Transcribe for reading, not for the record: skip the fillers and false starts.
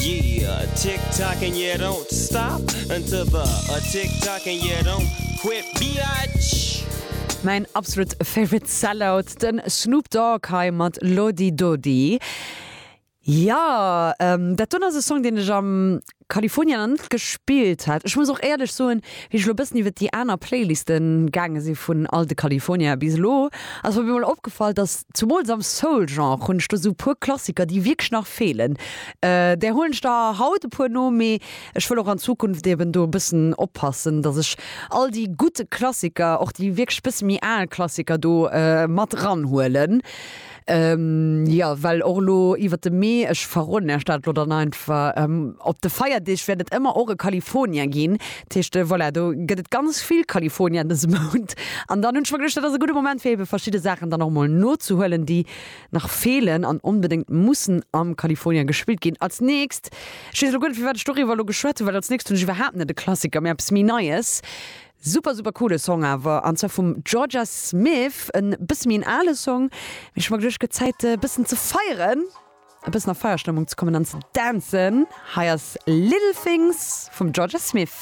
Yeah, tick tock and you don't stop until the a tick tock and you don't quit, biatch. Mäin absolut favorite Sellout, den Snoop Dogg hei mat Lodi Dodi. Jo, dat doen ass e Song deen ech am California nach net gespillt hat. Ech muss och éierlech soen, wéi ech elo e bëssen iwwert déi aner Playlisten gaange si vun all de California bis elo, ass mer op eemol opgefall, dass zumools am Soul-Genre hunn ech do sou e puer Klassiker, déi wierklech nach feelen. Där huelen ech der haut e puer no, mee ech wëll och an Zukunft eben do e bëssen oppassen, dass ech all déi gutt Klassiker, och déi wierklech bësse méi al Klassiker do mat ranhuelen. Jo, well och elo iwwert de Mee, ech verroden Iech dat elo dann einfach, op de Feierdeeg wäert et ëmmer och e California ginn. Dat heescht, voilà, do gëtt et ganz vill California dëse Mount. An dann hunn ech mer geduecht, dat ass e gudde Moment, fir ebe verschidde Saachen dann och emol nozehuelen, déi nach feelen an onbedéngt mussen am California gespillt ginn. Als nächst, ech weess elo guer net, firwat ech doriwwer elo geschwat hunn, well als nächst hunn ech iwwerhaapt net e Klassiker, mee eppes méi Neies. Super super coole Song awer, an zwar vum Jorja Smith, en bësse méi en ale Song, mee ech hu mer geduecht gëtt Zäit e bëssen ze feieren, e bëssen a Feierstëmmung ze kommen an ze dancen. Hei ass Little Things vum Jorja Smith.